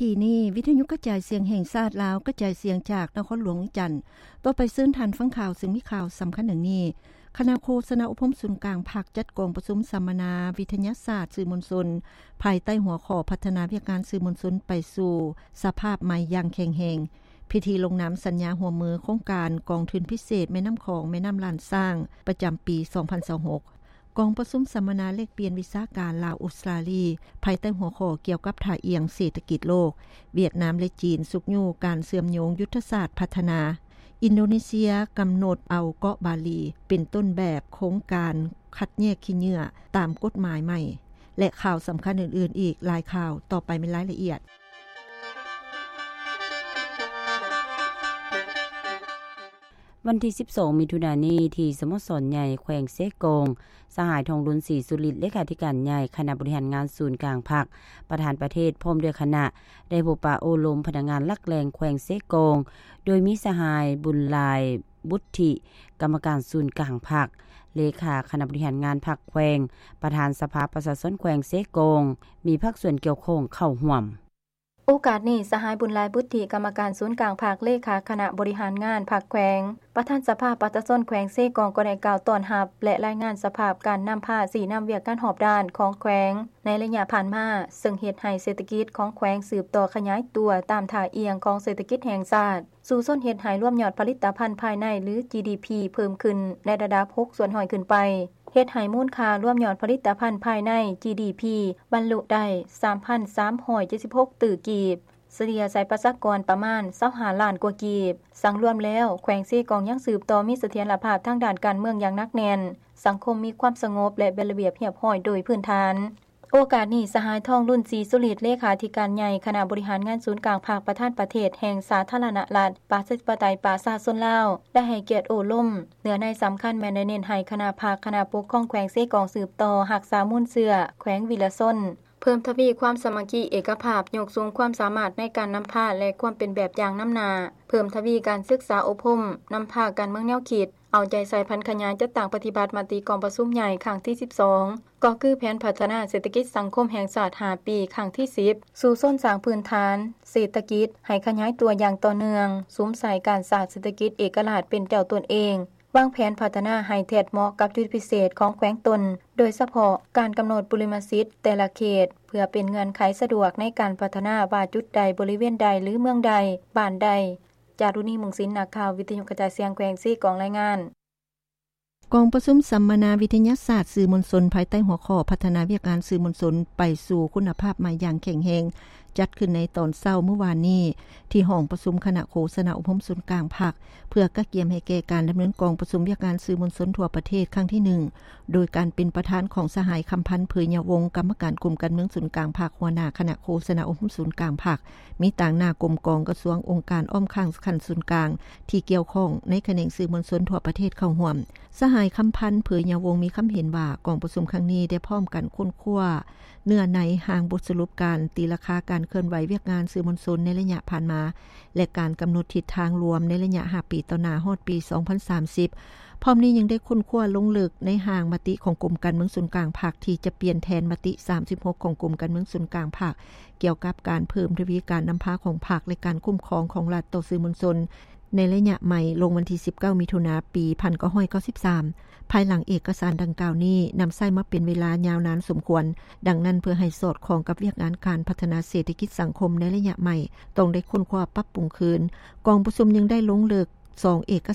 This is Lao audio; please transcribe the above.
ທີ່ນີ້ ວິທະຍຸກະຈາຍສຽງແຫ່ງຊາດລາວ ກະຈາຍສຽງຈາກນະຄອນຫຼວງວຽງຈັນ. ຕໍ່ໄປເຊີນທ່ານຟັງຂ່າວ ຊຶ່ງມີຂ່າວສຳຄັນດັ່ງນີ້. ຄະນະໂຄສະນາອົບຮົມສູນກາງພັກ ຈັດກອງປະຊຸມສຳມະນາວິທະຍາສາດສື່ມວນຊົນ ພາຍໃຕ້ຫົວຂໍ້ ພັດທະນາວຽກງານສື່ມວນຊົນໄປສູ່ສະພາບໃໝ່ຢ່າງແຂງແຮງ. ພິທີລົງນາມສັນຍາຮ່ວມມືໂຄງການກອງທຶນພິເສດແມ່ນ້ຳຂອງ ແມ່ນ້ຳລ້ານຊ້າງ ປະຈຳປີສອງພັນຊາວຫົກ. ກອງປະຊຸມສຳມະນາແລກປ່ຽນວິຊາການລາວ-ອົດສະຕາລີ ພາຍໃຕ້ຫົວຂໍ້ກ່ຽວກັບທ່າອ່ຽງເສດຖະກິດໂລກ, ຫວຽດນາມ ແລະ ຈີນຊຸກຍູ້ການເຊື່ອມໂຍງຍຸດທະສາດພັດທະນາ, ອິນໂດເນເຊຍກຳນົດເອົາເກາະບາລີເປັນຕົ້ນແບບໂຄງການຄັດແຍກຂີ້ເຫຍື້ອຕາມກົດໝາຍໃໝ່ ແລະ ຂ່າວສຳຄັນອື່ນໆອີກຫຼາຍຂ່າວ. ຕໍ່ໄປແມ່ນລາຍລະອຽດ. ວັນທີສິບສອງ ມິຖຸນານີ້ ທີ່ສະໂມສອນໃຫຍ່ແຂວງເຊກອງ, ສະຫາຍ ທອງລຸນ ສີສຸລິດ ເລຂາທິການໃຫຍ່ຄະນະບໍລິຫານງານສູນກາງພັກ, ປະທານປະເທດ ພ້ອມດ້ວຍຄະນະ ໄດ້ພົບປະໂອ້ລົມພະນັກງານຫຼັກແຫຼ່ງແຂວງເຊກອງ, ໂດຍມີສະຫາຍ ບຸນຫຼາຍ ບຸດທິ ກຳມະການສູນກາງພັກ, ເລຂາຄະນະບໍລິຫານງານພັກແຂວງ, ປະທານສະພາປະຊາຊົນແຂວງເຊກອງ, ມີພາກສ່ວນກ່ຽວຂ້ອງເຂົ້າຮ່ວມ. ໂອກາດນີ້ ສະຫາຍ ບຸນຫຼາຍ ບຸດທິ ກຳມະການສູນກາງພັກ, ເລຂາຄະນະບໍລິຫານງານພັກແຂວງ, ປະທານສະພາປະຊາຊົນແຂວງເຊກອງ ກໍໄດ້ກ່າວຕ້ອນຮັບ ແລະ ລາຍງານສະພາບການນຳພາຊີ້ນຳວຽກງານຮອບດ້ານຂອງແຂວງໃນໄລຍະຜ່ານມາ, ເຊິ່ງເຮັດໃຫ້ເສດຖະກິດຂອງແຂວງສືບຕໍ່ຂະຫຍາຍຕົວຕາມທ່າອ່ຽງຂອງເສດຖະກິດແຫ່ງຊາດ, ສູ້ຊົນເຮັດໃຫ້ລວມຍອດຜະລິດຕະພັນພາຍໃນ ຫຼື ຈີດີພີ ເພີ່ມຂຶ້ນໃນລະດັບຫົກສ່ວນຮ້ອຍຂຶ້ນໄປ. ເຮັດໃຫ້ມູນຄ່າລວມຍອດຜະລິດຕະພັນພາຍໃນ ຈີດີພີ ບັນລຸໄດ້ສາມພັນສາມຮ້ອຍເຈັດສິບຫົກຕື້ກີບ, ສະເລ່ຍໃສ່ປະຊາກອນປະມານຊາວຫ້າລ້ານກວ່າກີບ. ສັງລວມແລ້ວ, ແຂວງເຊກອງຍັງສືບຕໍ່ມີສະຖຽນລະພາບທາງດ້ານການເມືອງຢ່າງໜັກແໜ້ນ, ສັງຄົມມີຄວາມສະຫງົບ ແລະ ເປັນລະບຽບຮຽບຮ້ອຍໂດຍພື້ນຖານ. ໂອກາດນີ້, ສະຫາຍ ທອງລຸນ ສີສຸລິດ ເລຂາທິການໃຫຍ່ຄະນະບໍລິຫານງານສູນກາງພັກ, ປະທານປະເທດແຫ່ງສາທາລະນະລັດ ປະຊາທິປະໄຕ ປະຊາຊົນລາວ ໄດ້ໃຫ້ກຽດໂອ້ລົມ. ເນື້ອໃນສຳຄັນແມ່ນໄດ້ເນັ້ນໃຫ້ຄະນະພັກ, ຄະນະປົກຄອງແຂວງເຊກອງສືບຕໍ່ຮັກສາມູນເຊື້ອແຂວງວິລະຊົນ, ເພີ່ມທະວີຄວາມສາມັກຄີເອກະພາບ, ຍົກສູງຄວາມສາມາດໃນການນຳພາ ແລະ ຄວາມເປັນແບບຢ່າງນຳໜ້າ, ເພີ່ມທະວີການສຶກສາອົບຮົມນຳພາການເມືອງແນວຄິດ, ເອົາໃຈໃສ່ຜັນຂະຫຍາຍຈັດຕັ້ງປະຕິບັດມະຕິກອງປະຊຸມໃຫຍ່ຄັ້ງທີສິບສອງ, ກໍຄືແຜນພັດທະນາເສດຖະກິດສັງຄົມແຫ່ງຊາດຫ້າປີ ຄັ້ງທີສິບ, ສູ້ຊົນສ້າງພື້ນຖານເສດຖະກິດໃຫ້ຂະຫຍາຍຕົວຢ່າງຕໍ່ເນື່ອງ, ສຸມໃສ່ການສ້າງເສດຖະກິດເອກະລາດເປັນເຈົ້າຕົນເອງ, ວາງແຜນພັດທະນາໃຫ້ແທດເໝາະກັບຈຸດພິເສດຂອງແຂວງຕົນ, ໂດຍສະເພາະການກຳນົດບຸລິມະສິດແຕ່ລະເຂດ ເພື່ອເປັນເງື່ອນໄຂສະດວກໃນການພັດທະນາວ່າຈຸດໃດ, ບໍລິເວນໃດ ຫຼື ເມືອງໃດ, ບ້ານໃດ. ຈາລຸນີ ມຸງສິນ, ນັກຂ່າວ ວິທະຍຸກະຈາຍສຽງແຂວງເຊກອງ ລາຍງານ. ກອງປະຊຸມສຳມະນາວິທະຍາສາດສື່ມວນຊົນ ພາຍໃຕ້ຫົວຂໍ້ ພັດທະນາວຽກງານສື່ມວນຊົນໄປສູ່ຄຸນນະພາບໃໝ່ຢ່າງແຂງແຮງ ຈັດຂຶ້ນໃນຕອນເຊົ້າມື້ວານນີ້ ທີ່ຫ້ອງປະຊຸມຄະນະໂຄສະນາອົບຮົມສູນກາງພັກ ເພື່ອກະກຽມໃຫ້ແກ່ການດຳເນີນກອງປະຊຸມວຽກງານສື່ມວນຊົນທົ່ວປະເທດຄັ້ງທີໜຶ່ງ ໂດຍການເປັນປະທານຂອງສະຫາຍ ຄຳພັນ ເຜີຍຍາວົງ ກຳມະການກົມການເມືອງສູນກາງພັກ, ຫົວໜ້າຄະນະໂຄສະນາອົບຮົມສູນກາງພັກ, ມີຕາງໜ້າກົມກອງ, ກະຊວງ, ອົງການອ້ອມຂ້າງຂັ້ນສູນກາງ ທີ່ກ່ຽວຂ້ອງໃນຂະແໜງສື່ມວນຊົນທົ່ວປະເທດເຂົ້າຮ່ວມ. ສະຫາຍ ຄຳພັນ ເຜີຍຍາວົງ ມີຄຳເຫັນວ່າ ກອງປະຊຸມຄັ້ງນີ້ໄດ້ພ້ອມກັນຄົ້ນຄວ້າເນື້ອໃນຮ່າງບົດສະຫຼຸບການຕີລາຄາການເຄື່ອນໄຫວວຽກງານສື່ມວນຊົນໃນໄລຍະຜ່ານມາ ແລະ ການກຳນົດທິດທາງລວມໃນໄລຍະຫ້າປີຕໍ່ໜ້າ ຮອດປີສອງພັນສາມສິບ. ພ້ອມນີ້ຍັງໄດ້ຄົ້ນຄວ້າລົງເລິກໃນຮ່າງມະຕິຂອງກົມການເມືອງສູນກາງພັກ ທີ່ຈະປ່ຽນແທນມະຕິສາມສິບຫົກຂອງກົມການເມືອງສູນກາງພັກ ກ່ຽວກັບການເພີ່ມທະວີການນຳພາຂອງພັກ ແລະ ການຄຸ້ມຄອງຂອງລັດຕໍ່ສື່ມວນຊົນ ໃນໄລຍະໃໝ່ ລົງວັນທີສິບເກົ້າ ມິຖຸນາ ປີໜຶ່ງພັນເກົ້າຮ້ອຍເກົ້າສິບສາມ. ພາຍຫຼັງເອກະສານດັ່ງກ່າວນີ້ນຳໃຊ້ມາເປັນເວລາຍາວນານສົມຄວນ, ດັ່ງນັ້ນ ເພື່ອໃຫ້ສອດຄ່ອງກັບວຽກງານການພັດທະນາເສດຖະກິດສັງຄົມໃນໄລຍະໃໝ່ ຕ້ອງໄດ້ຄົ້ນຄວ້າປັບປຸງຄືນ. ກອງປະຊຸມຍັງໄດ້ລົງເລິກສອງເອກະ